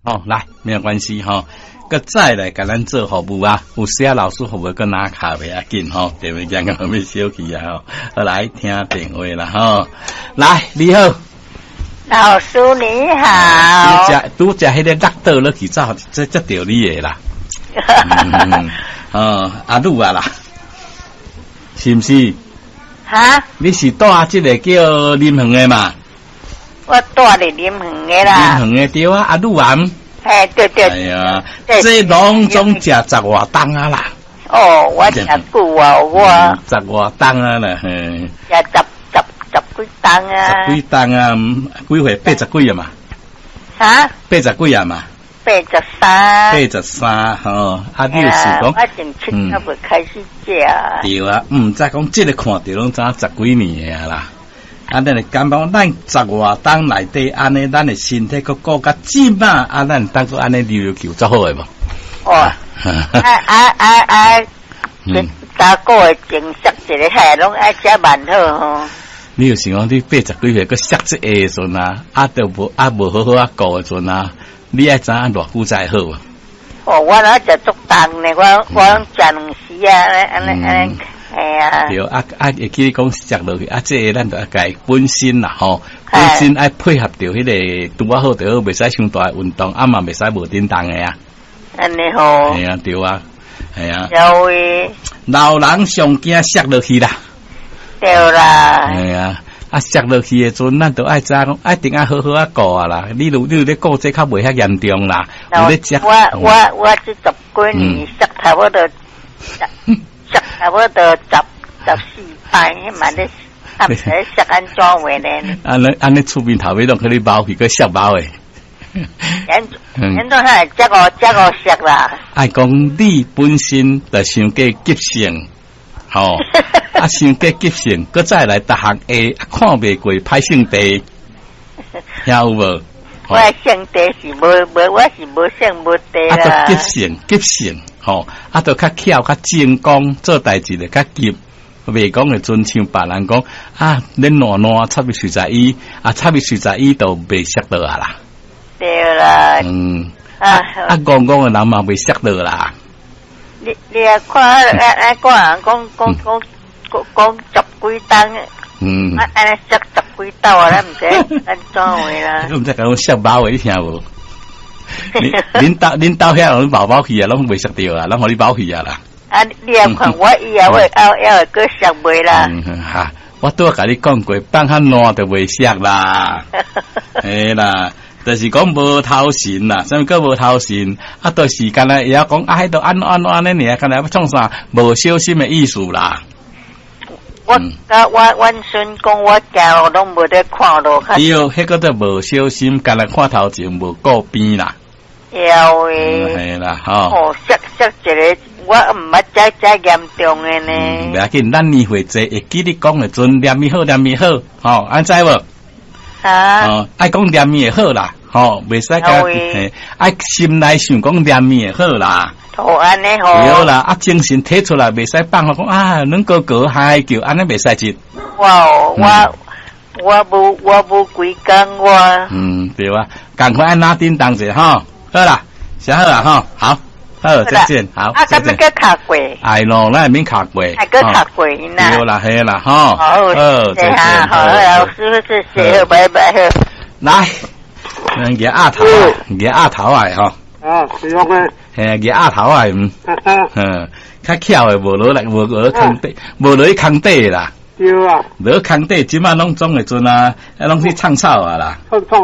哦，來，沒有關係吼。閣再來共咱做服務啊，有時啊老師服務閣拿卡袂要緊吼，電話講個欲小去啊吼，好來聽電話啦吼，來你好，老師你好，拄則彼个落倒落去，走這接著你的啦，哦，阿女啊啦，是毋是？哈？你是住這个叫林園的嘛？我住佇林園的啦。林園的對啊，阿女啊。嘿，對對。哎呀，這攏總食十外冬啊啦。哦，我食久啊，我。十外冬啊啦，嘿。食十幾冬啊。十幾冬啊，幾歲？八十幾啊嘛？哈？八十幾啊嘛？83。83吼，啊，你就是講，我從七仔未開始食。對啊，毋知講這个看著攏知影十幾年的啊啦。啊，咱會感覺咱十外冬內底按呢，咱的身體閣顧較這馬，啊，咱當閣按呢溜溜球足好的無？哦，啊啊啊啊！逐個月前摔一个，嘿，攏愛食慢好吼。你有想講你八十幾歲閣摔這個的時陣啊，啊，都無啊無好好啊顧的時陣啊，你愛知影偌久才會好啊？哦，我若食足重呢，我攏食兩時啊，按呢按呢。哎呀，對啊啊，會記講食落去啊，這个咱就愛共本身啦吼，本身愛配合著彼个拄仔好就好，袂使傷大運動，啊嘛袂使無振動的啊。按呢吼。係啊，對啊，係啊。有的。老人上驚摔落去啦。對啦。係啊，啊摔落去的陣，咱就愛知影講，一定愛好好啊顧啊啦。你有咧顧這較袂遐嚴重啦。有咧食。我這十幾年摔差不多。差不多14擺，嘛咧，啊，毋知摔按怎話呢？按呢按呢出面頭尾攏去你貓去，閣摔貓的。因怎係這個摔啦？愛講你本身就傷過急性，吼，啊，傷過急性，閣再來逐項會看袂過歹性地，聽有無？我性地是無無，我是無性無地啦。啊，都急性急性。吼，啊，都較巧較精工，做代誌就較急，袂講會準像別人講啊，恁爛爛插入隨在伊，啊，插入隨在伊都袂摔倒啊啦。對啦。啊啊，戇戇的人嘛袂摔倒啦。你啊看啊啊，個人講講講講講十幾冬，啊按呢摔十幾斗啊，咱毋知按怎話啦。你毋知講摔貓的，你聽無？恁兜遐攏貓貓去啊，攏袂摔著啊，攏予你貓去啊啦。啊，你也看我以後會後會閣摔袂啦？哈，我拄仔共你講過，放較爛就袂摔啦。嘿啦，就是講無頭神啦，啥物叫無頭神？啊，就是干焦會曉講啊，彼度按怎按怎按呢爾，干焦欲創啥？無小心的意思啦。我甲我阮孫講，我行路攏無咧看路。對，彼個都無小心，干焦看頭前無顧邊啦。有的。係啦，吼。哦，摔摔一个，我毋捌遮遮嚴重的呢。袂要緊，咱年歲濟，會記你講的陣，念伊好，念伊好，吼，按知無？啊。哦，愛講念伊會好啦，吼，袂使共，嘿，愛心內想講念伊會好啦。哦，按呢吼。對啦，啊，精神提出來，袂使放予講啊，阮哥哥嗨叫，按呢袂使這。我我無規工我。嗯，對啊，仝款愛拿叮當者吼，好啦，寫好啦吼，好，好，再見，好，啊，咁欲閣敲過。哎咯，咱會免敲過。還閣敲過呢。對啦，係啦，吼。好，好，再見。好，老師謝謝，拜拜。來，咱舉鴨頭，舉鴨頭來吼。啊，是安呢。嘿，舉鴨頭來，嗯，嗯，較巧的無落來，無落空底，無落去空底啦。對啊。落空底，這馬攏總的陣啊，攏去創草啊啦。創創。